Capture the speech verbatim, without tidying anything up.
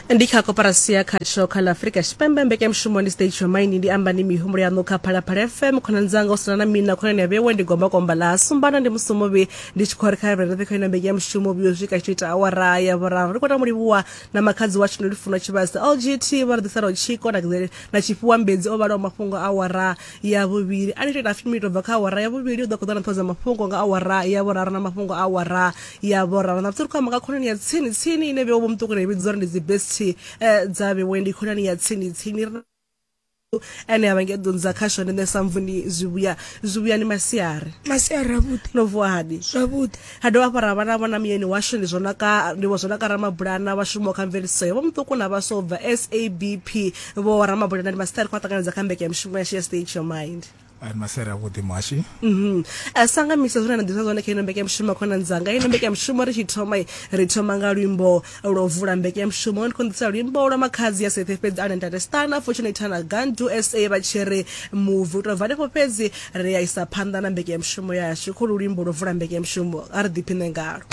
Ndi kha koporasi ya Khatsho kha ḽa Afrika Tshipembe. Mbekanyamushumo ndi State Your Mind, ndi amba ni mihumbulo yaṋu kha Phalaphala F M. Khonani dzanga u sina na mina khonani ya vhewe ndi gombakomba ḽa sumbana ndi musumuvhi ndi tshi khou ri kha ri kha ino mbekanyamushumo vhuyo swika tshi ita awara ya vhuraru. Ri khou ta livhuwa na makhadzi washu ndo lufuno Tshivhase L G T vha ri ḓiselaho tshiko na na tshifhiwa mbedzi o vhalaho mafhungo awara ya vhuvhili. A ni tou ita miniti ubva kha awara ya vhuvhili u ḓo khou ḓa na ṱhoho dza mafhungo nga awara ya vhuraru na mafhungo awara ya vhuraru. Na ri khou amba nga khonani ya tsini tsini ine vhewe vho muṱuku ri vhidza uri ndi dzi best dza vhewe, ndi khonani ya tsini tsini ene a vhange ḓunza kha shone nṋe sa mvuni zwivhuya zwivhuya ni masiari masiari avhuḓi no vuwa hani zwavhuḓi. Ha dovha hafhu ra vha na vhona muyeni washu ndi zwonaka ndi vho Zwonaka Ramabulana vha shumaho kha mveledziso ya vho muṱuku na vhaswa ubva S A B P. Vho Ramabulana ndi masiari khou ṱanganedza kha mbekanyamushumo yashu ya State Your Mind. Ai masiari avhuḓi muhashi. Mhm. Sanga misa zwine na ḓisa zwone kha ino mbekanyamushumo khonani dzanga. Ino mbekanyamushumo ri tshi thoma ri thoma nga luimbo lwo vula mbekanyamushumo. Ndi khou ḓisa luimbo lwa makhadzi ya Sethe fhedzi ane ntate Stana Fortunate na Gandu S A vha tshi ri move. U tou bva hanefho fhedzi ri ya isa phanḓa na mbekanyamushumo yashu. Khou luimbo lwo vula mbekanyamushumo a ri ḓiphine ngalo.